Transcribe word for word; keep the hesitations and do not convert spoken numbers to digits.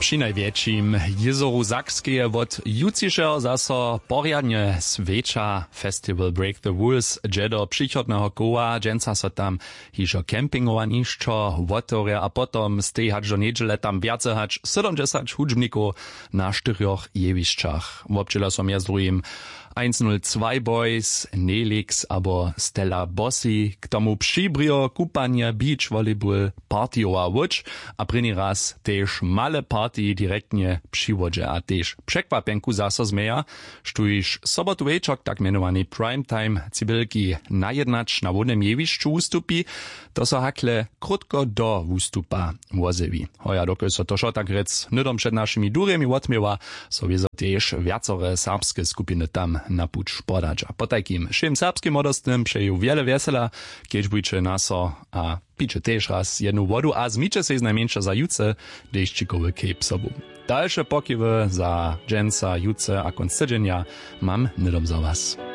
Při najwjetšim jězoru Sakskeje wot jutřišeho zaso porjadnje swjeća. Festival Break the Rules dźe do přichodneho koła. Dźensa so tam hižo campingowanišćo wotewrje a potom stej hač do njedźele tam wjace hač sydomdźesać hudźbnikow na štyrjoch jewišćach. Wobdźěla so mjez druhim eins null zwei Boys, Nelix abo Stella Bossi, k tomu přibrjo, kupanje, beach volleyball, partijowa łódź a prěni raz tež male party direktnje při wodźe a tež překwapjenku zaso změja, štóž sobotu wječor k tak mjenowanej prime time cibelki najednać na hłownym jewišću wustupi. To so hakle krótko do wustupa wozjewi. Hoja dokelž so to wšo tak rjec hnydom před našimi durjemi wotměła, so wězo tež wjacore serbske skupiny tam na puć podadźa. Potajkim wšěm serbskim młodostnym přeju wjele wjesela, kedźbujće na so a pijće tež raz jednu wodu a zmijće sej znajmjeńša za jutře dešćikowy cape sobu. Dalše pokiwy za dźensa, jutře a kónc tydźenja mam hnydom za was.